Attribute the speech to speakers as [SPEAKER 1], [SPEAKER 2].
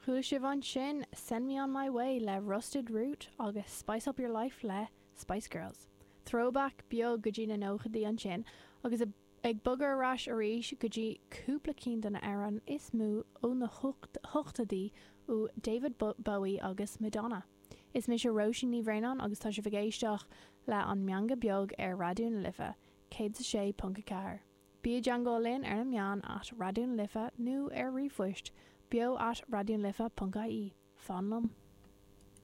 [SPEAKER 1] Chuala sibh ansin Send Me On My Way le Rusted Root agus Spice Up Your Life le Spice Girls. Throwback beag go dtí na nóchaidí ansin agus ag bogadh ar ais arís go dtí cúpla cinn de na amhráin is mó ó na hochtóidí ó David Bowie agus Madonna. Is mise Róisín Ní Bhraonáin agus tá sibh ag éisteacht le An Meangadh Beag ar Raidió na Life 106.4. Bí i dteangmháil linn ar na meáin at Raidió na Life nó ar ríomhphoist beo at raidionalife.ie. Fan liom.